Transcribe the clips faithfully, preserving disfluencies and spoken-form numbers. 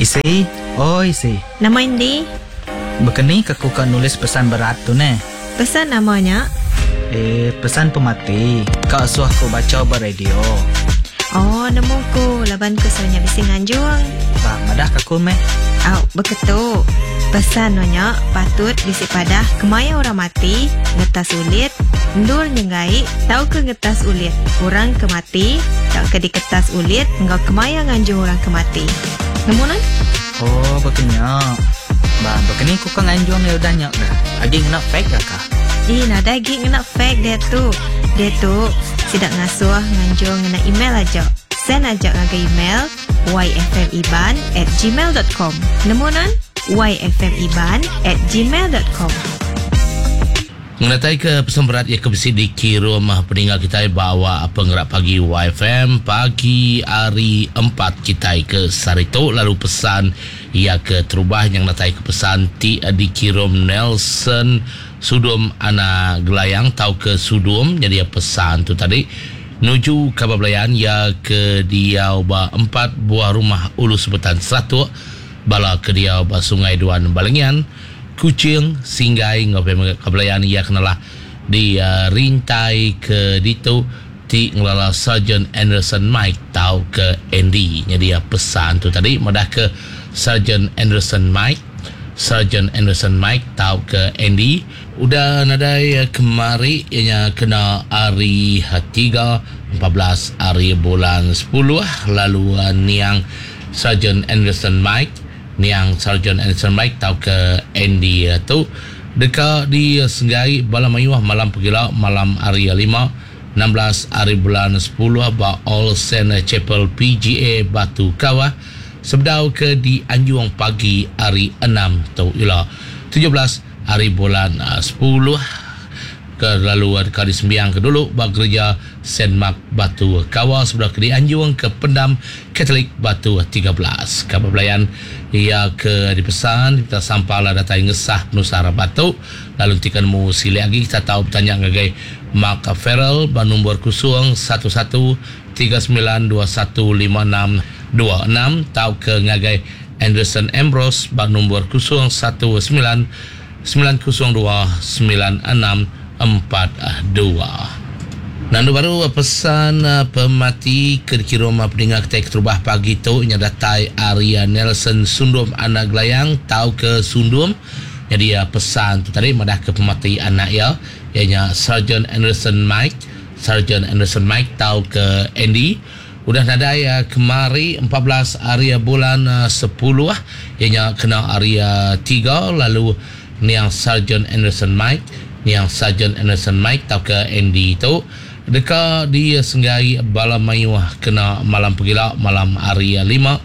Isi, oi isi. Nama indi? Bekeni ke ku ka nulis pesan berat tu neh? Pesan nama nya? Eh, pesan pemati. Ka suah ku bacha ba radio. Oh, nemu ku laban ku suah nya bisi nganjung. Bah, madah ka ku meh. Au, beketu. Pesan no nya patut bisi padah kemaya orang mati, ngetas ulit, endur nyenggai tauka ngetas ulit orang ke mati tauka diketas ulit enggau kemaya nganjung orang ke mati. Nemu nan? Oh, bekenya. Bah, bekeni ku ka nganjung ya udah nya dah. Agi ngena fax dah kah? Ih, nadai agi ngena fax dia tu. Dia tu sidak ngasuh nganjung ngena email aja. Send aja ngagai email yfmiban at gmail dot com. Nemu nan? yfmiban at gmail dot com. Ngenatai ke pesan berat ia ke bisi dikirum peninggal kita bawa penggerak pagi Y F M pagi hari empat kita ke Sarito, lalu pesan ia ke terubah yang natai ke pesan ti dikirum Nelson Sudum Anak Gelayang tau ke Sudum, jadi pesan tu tadi nuju kabar belayan ia ke diau ba empat buah rumah Ulu Sebetan Seratuk, bala ke diau ba Sungai Duan Balengian, Kuching, Singgai ngau kabelayan ia kenalah di uh, rintai ke ditu ti ngelala Sergeant Anderson Mike tau ke Andy. Jadi uh, pesan tu tadi madah ke Sergeant Anderson Mike, Sergeant Anderson Mike tau ke Andy udah nadai uh, kemari ianya kena hari tiga empat belas hari bulan sepuluh, lalu uh, niang Sergeant Anderson Mike, niang Sergeant Anderson Mike tau ke Andy tu deka disenggai bala mayuh malam pegila malam hari lima enam belas hari bulan sepuluh ba All Saint Chapel P G A Batu Kawah sebedau ke di Anjung pagi hari enam tu ila tujuh belas hari bulan sepuluh ke lalu deka disembiang ke dulu ba gereja Saint Mark Batu Kawah sebedau ke di Anjung ke Pendam Katolik Batu tiga belas. Kabar belayan ia ke dipesan kita sampala datai ngesah penusah batu lalu tikan mu silik lagi kita tahu bertanya ngagai Mark Farrell ba nombor kosong satu satu tiga sembilan dua satu lima enam dua enam tau ke ngagai Anderson Ambrose ba nombor kosong satu sembilan sembilan kosong dua sembilan enam empat dua. Nandu baru pesan pemati ke dikirim pendengar kita keterubah pagi tu nya datai Arya Nelson Sundum Anak Gelayang tau ke Sundum. Jadi pesan tu tadi madah ke pemati anak ia ianya Sergeant Anderson Mike, Sergeant Anderson Mike tau ke Andy udah nadai kemari empat belas hari bulan sepuluh ianya kena hari tiga, lalu niang Sergeant Anderson Mike, niang Sergeant Anderson Mike tau ke Andy tu deka disenggai bala mayuh kena malam pegila malam hari lima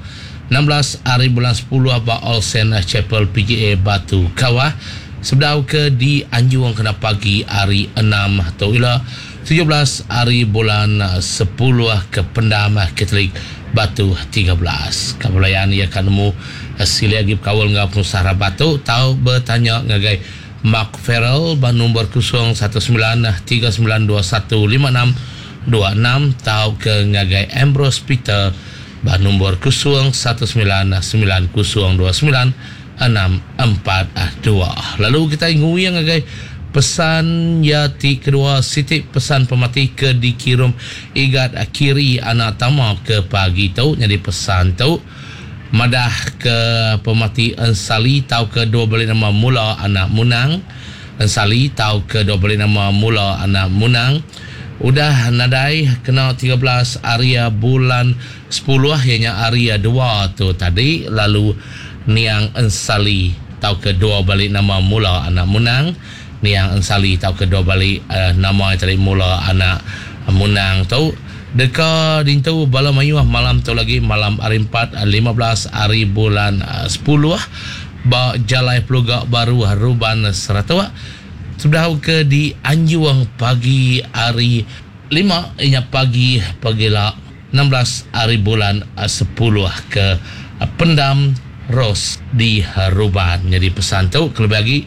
enam belas hari bulan sepuluh ba All Saint Chapel P G A Batu Kawah sebedau ke di Anjung kena pagi hari enam tu ila tujuh belas hari bulan sepuluh ke Pendam Katolik Batu tiga belas. Kabelayan ia kan nemu sili agi berkawal ngau penusah batu tau bertanya ngagai Mark Farrell ba nombor kosong satu sembilan tiga sembilan dua satu lima enam dua enam tau ke ngagai Ambrose Peter ba nombor kosong satu sembilan sembilan kosong dua sembilan enam empat dua. Lalu kita nguyang ngagai pesan ya ti kedua siti pesan pemati ke dikirim igat kiri anak tama ke pagi tu. Jadi pesan tu madah ke pemati Ensali tau ke dua balik nama mula anak Munang. Ensali tau ke dua balik nama mula anak Munang udah nadai kena tiga belas hari bulan sepuluh ianya hari dua tu tadi, lalu niang Ensali tau ke dua balik nama mula anak Munang, niang Ensali tau ke dua balik uh, nama tadi mula anak Munang tu deka dintu bala mayuh malam tu lagi malam hari empat lima belas hari bulan sepuluh ba Jalai Peluga Baru Ruban Seratuk sudah ke di Anjuang pagi hari lima inya pagi pagila enam belas hari bulan sepuluh ke Pendam Ros di Ruban. Jadi pesan tu kelebih lagi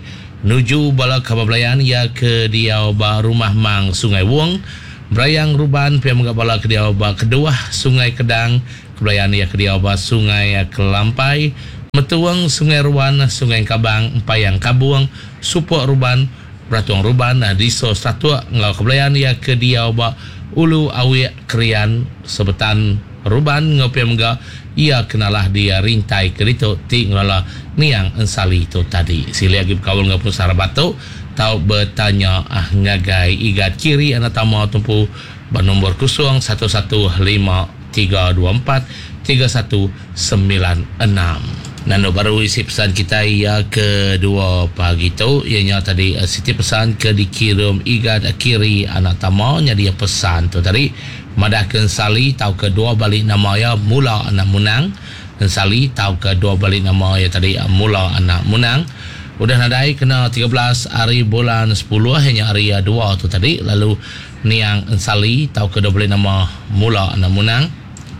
nuju bala kabar belayan ya ke diau ba rumah Mang Sungai Wong Berayang Ruban pia menggak bala ke diau ba kedua Sungai Kedang Kebelayan ia ke diau ba Sungai Kelampai, Metuang, Sungai Ruan, Sungai Kabang, Empayang Kabung, Supok Ruban, Beratung Ruban, Diso Satuk ngau kebelayan ia ke diau ba Ulu Awik Krian, Sebetan Ruban ngau pia mega ia kenalah dia rintai ke ditu ti ngelala niang Ensali tu tadi. Sili lagi berkaul ngau penusah rabat tu tau bertanya ah ngagai Igat Kiri anak tama tumpu ba nombor kosong satu satu lima tiga dua empat tiga satu sembilan enam. Nando baru isi pesan kita ia kedua pagi tu ianya tadi siti pesan ke dikirim Igat Kiri anak tama nya dia pesan tu tadi madah ke Ensali tau ke dua balik nama ia Mula anak Munang. Ensali tau ke dua balik nama ia tadi Mula anak Munang. Udah nadai kena tiga belas hari bulan sepuluh hanya hari dua tu tadi lalu niang Ensali tau ke dua balik nama Mula anak Munang.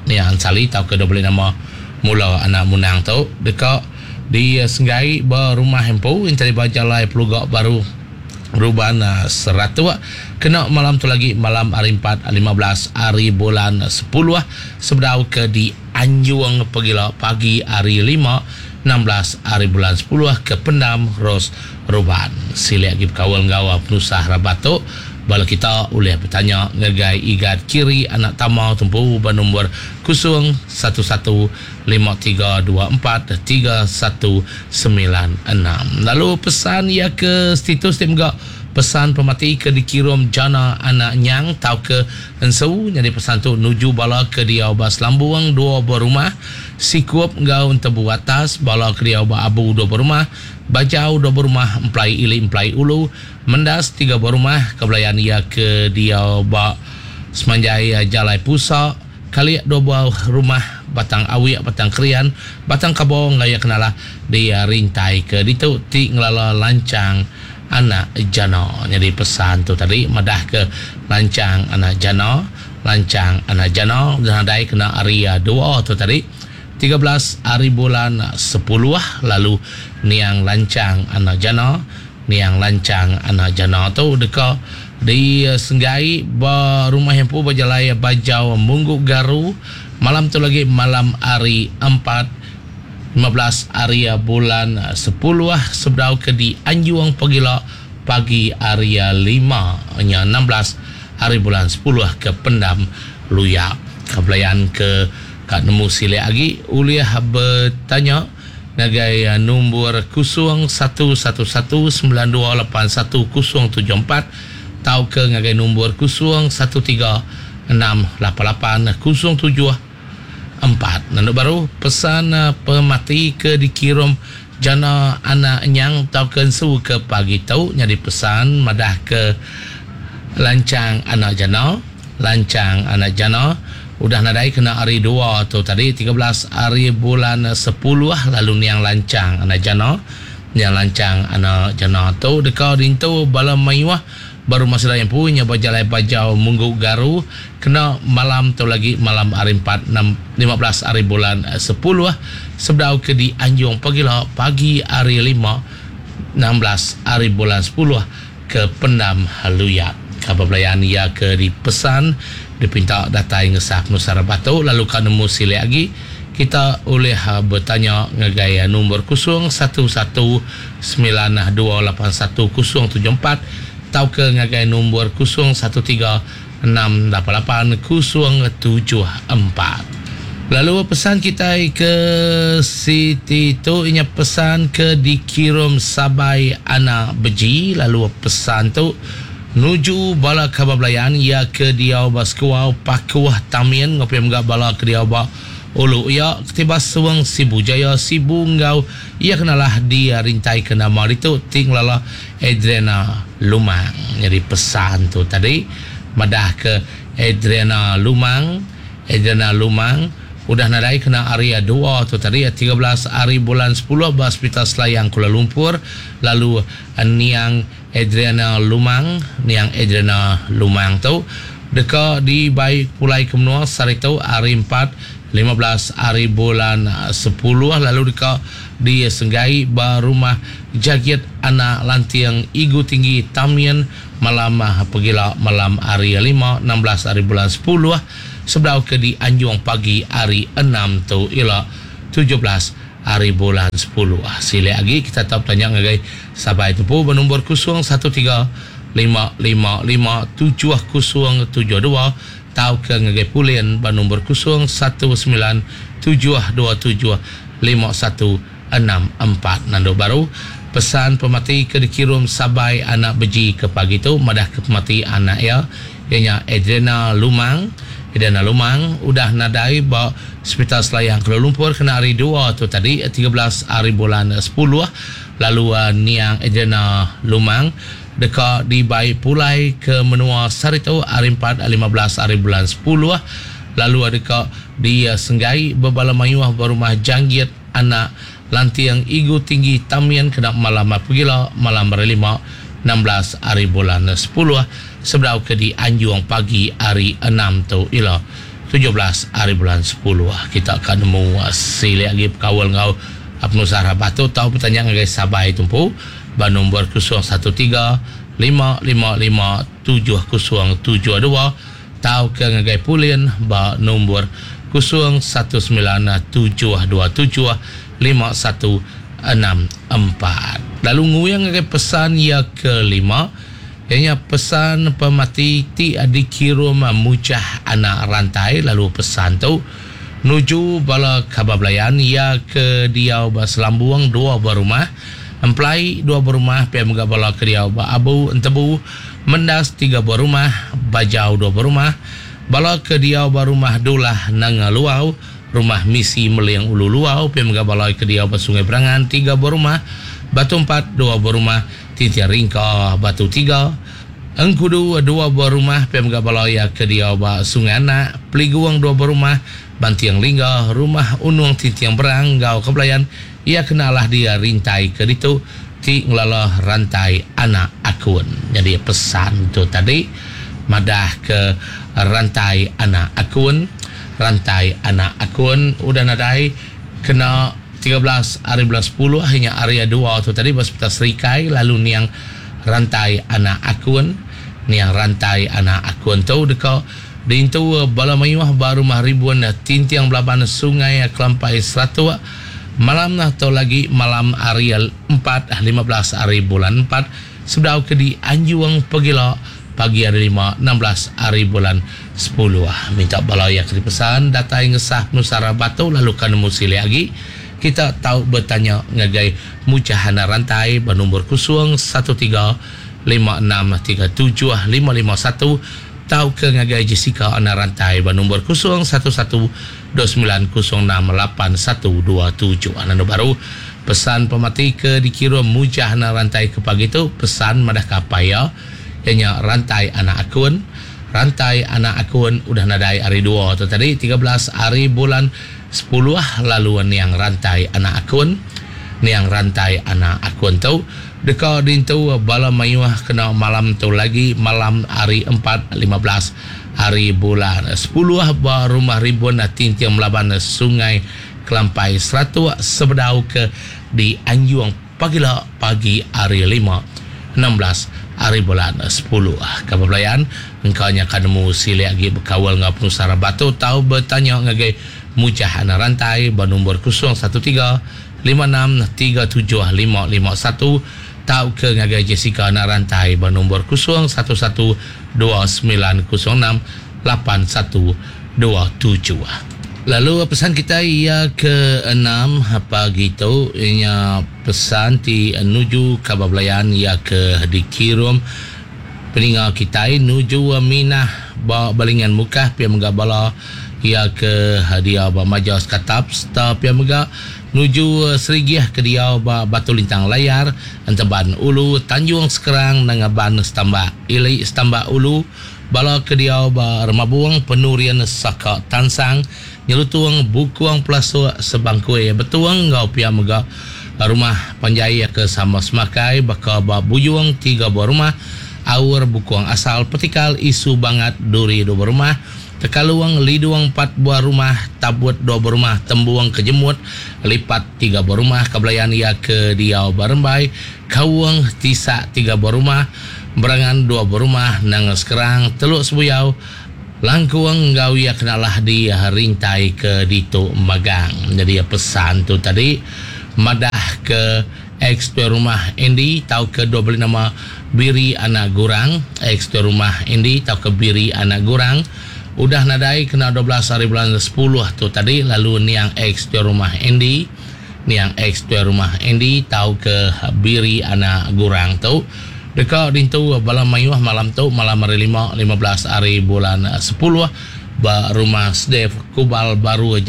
Niang Ensali tau ke dua balik nama Mula anak Munang tu dekat di Senggai berumah empu interi bajalai Pelugak Baru Ruban Seratuk kena malam tu lagi malam hari empat lima belas hari bulan sepuluh sebedau ke di Anjung Pegila pagi hari lima enam belas hari bulan sepuluh ke Pendam Ros Ruban. Sili lagi berkawal nggawa penusah rabat tu bala kita boleh bertanya ngagai Igat Kiri anak tama tumpu ba nombor kosong satu satu lima tiga dua empat tiga satu sembilan enam. Lalu pesan ia ke status dia juga pesan pemati ke dikirim Jana anak Nyang tau ke Ensu jadi pesan tu nuju bala ke dia ba Selambung dua berumah Sikup ngau Entebu atas bala ke dia ba Abu dua berumah Bajau dua berumah Emplai Ili Emplai Ulu Mendas tiga berumah kebelayan ia ke dia ba Semanjai Jalai Pusa Kaliak dua buah rumah Batang Awik Batang Krian Batang Kabong ngaya kenalah dia rintai ke ditu ti ngelala lancang anak Jana. Jadi pesan tu tadi madah ke lancang anak Jana, lancang anak Jana dan adai kena hari dua tu tadi tiga belas hari bulan sepuluh lalu niang lancang anak Jana, niang lancang anak Jana tu deka di Senggai ba rumah empu berjalai Bajau Munggu Garu malam tu lagi malam hari empat lima belas hari bulan sepuluh sebedau ke di Anjung Pegila pagi hari lima nya enam belas hari bulan sepuluh ke Pendam Luyak. Kebelayan ke kat nemu silik lagi uliah bertanya ngagai nombor kosong satu satu satu sembilan dua lapan satu kosong tujuh empat tau ke ngagai nombor kosong satu tiga enam lapan lapan kosong tujuh empat. Nanduk baru pesan pemati ke dikirim Jana anak Nyang tau ke Ensu ke pagi tu jadi pesan madah ke lancang anak Jana, lancang anak Jana udah nadai kena hari dua tu tadi tiga belas hari bulan sepuluh lalu niang lancang anak Jana, niang lancang anak Jana tu deka dintu bala mayuah baru masa yang punya berjalan Bajau Munggu Garu kena malam tu lagi malam hari empat enam lima belas hari bulan sepuluh sebedau ke di Anjung Pegila pagi hari lima enam belas hari bulan sepuluh ke Pendam Haluyak. Kabar belayan ia ke dipesan dipinta datai ngesah Nusara Batu lalu kan nemu silik lagi kita boleh bertanya ngagai nombor kosong satu satu sembilan dua lapan satu kosong tujuh empat tau ke ngagai nombor kosong satu tiga enam lapan lapan kosong tujuh empat. Lalu pesan kita ke Siti tu inya pesan ke dikirim Sabai anak Beji lalu pesan tu nuju bala khabar belayan ia ke diau baskuau Pakuh Tamin ngopi mga bala ke diau ba Ulu ia ketibas suang Sibu Jaya Sibu ngau ia kenalah dia rintai ke nama itu tinglala Adriana Lumang. Jadi pesan tu tadi madah ke Adriana Lumang, Adriana Lumang udah nadai kena area dua tu tadi tiga belas hari bulan sepuluh ba Hospital Selayang Kuala Lumpur lalu niang Adriana Lumang, niang Adriana Lumang tu deka dibai pulai ke menua sehari tu hari empat lima belas hari bulan sepuluh lalu deka di Senggai ba rumah Jagit anak Lantiang Igu Tinggi Tamian malam pegila malam hari lima enam belas hari bulan sepuluh sebedau ke di Anjung pagi hari enam tu ila tujuh belas hari bulan sepuluh. Sila lagi kita tahu tanya ngagai sabai tempu bernombor kosong satu tiga lima lima lima tujuh kosong tujuh dua tau ke ngagai Pulin bernombor kosong satu sembilan tujuh dua tujuh lima satu enam empat. Nando baru pesan pemati ke dikirim sabai anak beji ke pagi tu madah ke pemati anak ya ianya Adriana Lumang. Adriana Lumang udah nadai ba Hospital Selayang Kuala Lumpur kena hari dua tu tadi tiga belas hari bulan sepuluh. Lalu uh, niang Adriana Lumang deka dibai pulai ke menua Sarito hari empat lima belas hari bulan sepuluh. Lalu deka disenggai bebala mayuh berumah Janggit anak Lantiang Igu Tinggi Tamian kena malam pegila malam hari lima enam belas hari bulan sepuluh sebedau ke di Anjung pagi hari enam tu ila tujuh belas hari bulan sepuluh. Kita akan nemu silik lagi perkawal ngau penusah rabah tu tau bertanya ngagai sabai tumpu ba nombor kosong satu tiga lima lima lima tujuh kosong tujuh dua tau ke ngagai Pulin ba nombor kosong satu sembilan tujuh dua tujuh lima satu enam empat. Lalu nguyang ngagai pesan ya kelima ianya pesan pemati ti dikirim mujah anak rantai. Lalu pesan tu nuju bala khabar belayan ya ke diau ba Selambung dua berumah emplai dua berumah pia mega bala ke diau ba Abu Entebu Mendas tiga berumah Bajau dua berumah bala ke diau ba rumah Dulah Nanga Luau rumah Misi Meling Ulu Luau pia mega bala ke diau ba Sungai Berangan tiga berumah Batu empat dua berumah Tintian Ringka Batu tiga Engkudu dua berumah pia mega bala ya ke diau ba Sungai Anak Peliguang dua berumah Bantiang Lingga rumah Unung Tintiang Berang gau kebelayan ia kenalah dia rintai ke ditu ti ngelala rantai anak akun. Jadi pesan tu tadi madah ke rantai anak akun, rantai anak akun udah nadai kena tiga belas hari bulan sepuluh hanya area dua tu tadi hospital Serikai. Lalu niang rantai anak akun, niang rantai anak akun tu deka diintu bala mayuh ba rumah ribuan Tintiang Belaban Sungai Kelampai Seratuk malam atau lagi malam hari empat lima belas hari bulan empat sebedau ke di Anjung Pegila pagi hari lima enam belas hari bulan sepuluh. Minta bala yang dipesan datai ngesah Nusara Batu lalu kan nemu silih lagi kita tahu bertanya ngagai mujahana rantai bernombor kosong satu tiga lima enam tiga tujuh lima lima satu tau ke ngagai Jessica anak rantai bernombor kosong satu satu dua sembilan kosong enam lapan satu dua tujuh. Anak baru pesan pemati ke dikirim mujahana rantai ke pagi tu pesan madah kapaya ianya rantai anak akun, rantai anak akun udah nadai hari dua tu tadi tiga belas hari bulan sepuluh. Lalu niang rantai anak akun, niang rantai anak akun tu deka dintu bala mayuh kena malam tu lagi malam hari empat lima belas hari bulan sepuluh ba rumah ribuan Tintiang Melaban Sungai Kelampai Seratuk sebedau ke di Anjung pagila pagi hari lima enam belas hari bulan sepuluh. Kabar belayan engkau nya akan nemu silik lagi berkawal ngau penusara batu tau bertanya ngagai mujah anak rantai bernombor kosong satu tiga lima enam tiga tujuh lima lima satu tau ke ngagai Jessica anak rantai bernombor kosong satu satu dua sembilan kosong enam lapan satu dua tujuh. Lalu pesan kita ia ke enam pagi tu ianya pesan ti nuju khabar belayan ia ke dikirim peninga kita nuju Minah ba Balingan Mukah pia mega bala ia ke hadiah ba Majas Katap serta pia mega nuju Serigih ke dia ba Batu Lintang Layar Enteban Ulu Tanjung Sekerang Nangaban Setambak Ili Setambak Ulu bala ke dia ba Remabung Penurian Saka Tansang Nyelutung Bukuang Pelasuk Sebangkui Betuang ngau pia mega rumah panjai ke sama semakai baka ba Buyung tiga buah rumah Aur Bukuang Asal Petikal Isu Bangat Duri dua buah rumah Tekaluang Liduang empat buah rumah Tabut dua buah rumah Tembuang Kejemut Lipat tiga buah rumah Kebelayan ia ke Diau Barembai Kawung Tisak tiga buah rumah Berangan dua buah rumah Nanga Sekerang Teluk Sebuyau Langkung enggau iya kenalah di rintai ke ditu magang. Jadi pesan tu tadi madah ke ex tuai rumah Andy tau ke dua beli nama Biri Anak Gurang, ex tuai rumah Andy tau ke Biri Anak Gurang udah nadai kena dua belas hari bulan sepuluh tu tadi, lalu niang ex tuai rumah Andy, niang ex tuai rumah Andy tau ke Biri Anak Gurang tu deka dintu bala mayuh malam tu, malam hari lima, lima belas hari bulan sepuluh ba rumah Sdef Kubal Baru.